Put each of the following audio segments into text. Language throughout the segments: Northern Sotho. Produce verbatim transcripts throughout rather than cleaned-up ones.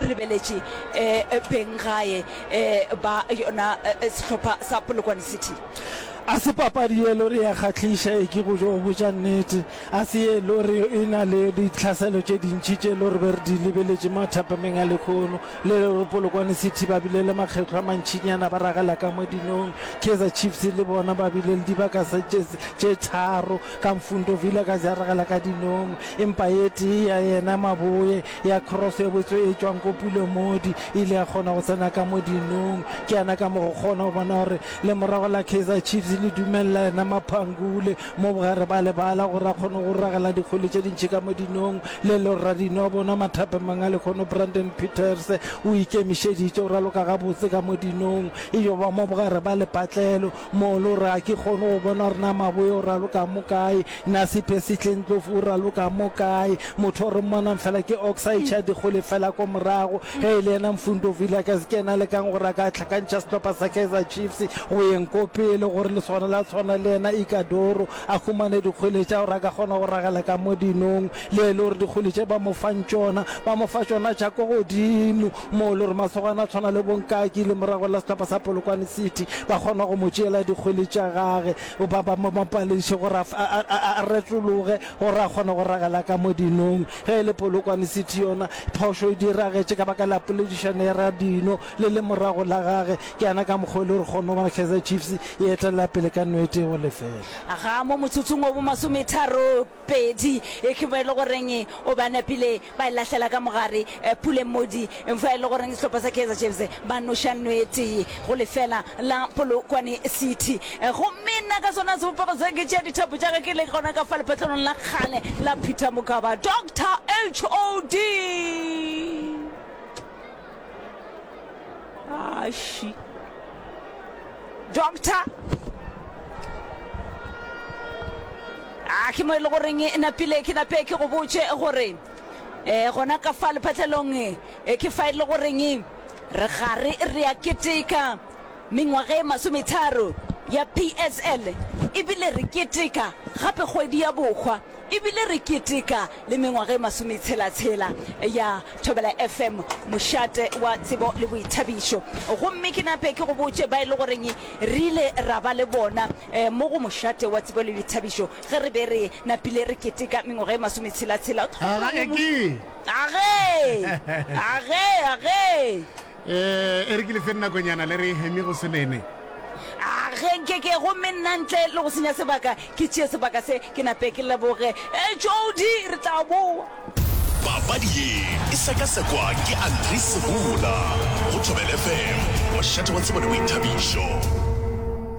Re lebeletše um beng gae um ba yona sehlopha sa Polokwane City. A se papadi ye lore ya kgahliša, e ke go jo botša nnete. A se ye lore e na le ditlhaselo tše dintši tše lore be re di lebeletše mathapameng a lekhono. Le lore Polokwane City ba bile le makgetlo a mantšinyana ba ragela ka mo dinong. Kaizer Chiefs le bona ba bile le dibaka tše tše tharo ka Mfundo Vilakazi a ragela ka dinong. Empa ye tee ya yena Maboe ya cross ye botse e tšwang ko Pule Mmodi e ile ya kgona go tsena ka mo dinong. Ke yana ka mo go kgona go bona gore le morago la Kaizer Chiefs le dumelela yena Maphangule mo bogare ba lebala gore a kgone go ragela dikgwele tše dintši ka mo dinong. Le le radino wa bona mathapemang a lekgono Brandon Peters o ikemišeditše go raloka gabotse ka mo dinong, e yo ba mo bogare ba lepatlelo mo le gore ga ke kgone go bona gore na Maboe o raloka mo kae, na Siphesihle Ndlovu o raloka mo kae. Motho o re mmonang fela ke Oxide tša dikgwele fela ko morago. Ge e le yena Mfundo Vilakazi ke yena a lekang gore a ka hlakantšha sehlopha sa Kaizer Chiefs go yeng ko pele gore le swana la tshwana le yena Ikadoro a humane dikgwele tša gore a ka kgona go ragela ka mo dinong. Le e le gore dikgwele tše ba mo fang tšona ba mo fa tšona tša ko godimo mo le gore masogana a tshwana le bonkaki le morago la sehlopha sa Polokwane City ba kgona go mo tšeela dikgwele tša gage, ba ba mo palediše gore a retologe gore a kgone go ragela ka mo dinong. Ge e le Polokwane City yona phošo e diragetše ka baka la poledišano ya radino le le morago la gage. Ke yana ka mokgwa e le gore kgone go bona Kaizer Chiefs e etelela pele ka nno e tee go lefela. Ga mo motsotsong wa bomasometharo pedi e ke mo e le goreng o ba napile ba e lahlela ka mogare Pule Mmodi, fa e le goreng sehlopha sa Kaizer Chiefs ba noša nno e tee go lefela la Polokwane City. Gomme nna ka sona sebopego se ke tšea dithapo tša ka ke le gona ka fa lepatlelong la kgale la Peter Mokaba, Doctor H O D. Ashi. Doctor A ke mo e le goreng e napile ke nape ke go botše gore um gona ka fa lephatlelong e ke fa e le goreng re gare re a keteka mengwaga e masometharo ya P S L, ebile re keteka gape kgwedi ya bohwa, ebile re keteka le mengwaga e masometshela-tshela ya Thobela F M, mošate wa tsebo le boithabišo. Gomme ke nape ke go botše ba e le goreng re ile ra ba le bona mo go mošate wa tsebo le boithabišo ge re be re napile re keteka mengwaga e masometshela-tshela. Aga e ke! Age! Age! Age! Eh, e re ke le feng nakonyana le re hemi go se nene. A ge nke ke, gomme nna ntle le go senya sebaka, ke tšee sebaka se, ke nape ke leboge. Eh, Jody, re tla boa. Papadi ye e sekasekwa ke Andries Sebola go Thobela F M, mošate wa tsebo le boithabišo.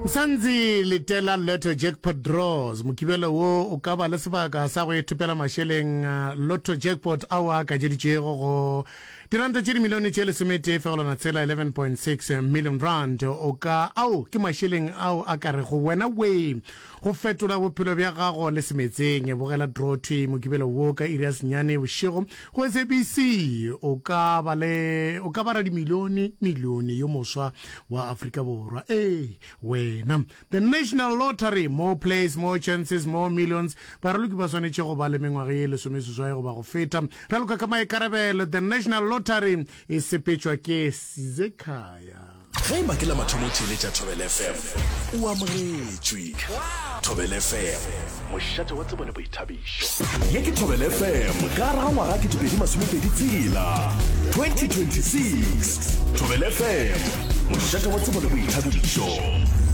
Msanzi letela Lotto Jackpot Draws. Mokibelo wo o ka ba le sebaka sa go ithopela mašeleng Lotto Jackpot ao a akadjeditšwego go diranta tše dimilione tše lesometee fegelwana tshela, eleven point six million rand. O ka ao ke mašeleng ao a ka rego wena wee go fetola bophelo bja gago le semetseng. Bogela draw thwi mokibelo wo ka iri ya senyane bošego go S A B C. O ka ba le o ka ba radimilione milione yo moswa wa Afrika Borwa. Ee wena. The National Lottery, more plays, more chances, more millions. Baraloki ba swanetše go ba le mengwaga ye lesomeseswai goba go feta. Raloka ka maikarabelo. The National Lottery e sepetšwa ke Sizekhaya. Ge e ba ke la mathomo o theeletša Thobela F M, o amogetšwe. Thobela F M, mošate wa tsebo le boithabišo. Ye ke Thobela F M ka gare ga ngwaga ketepedi masomepedi tshela, twenty twenty-six. Thobela F M, mošate wa tsebo le boithabišo.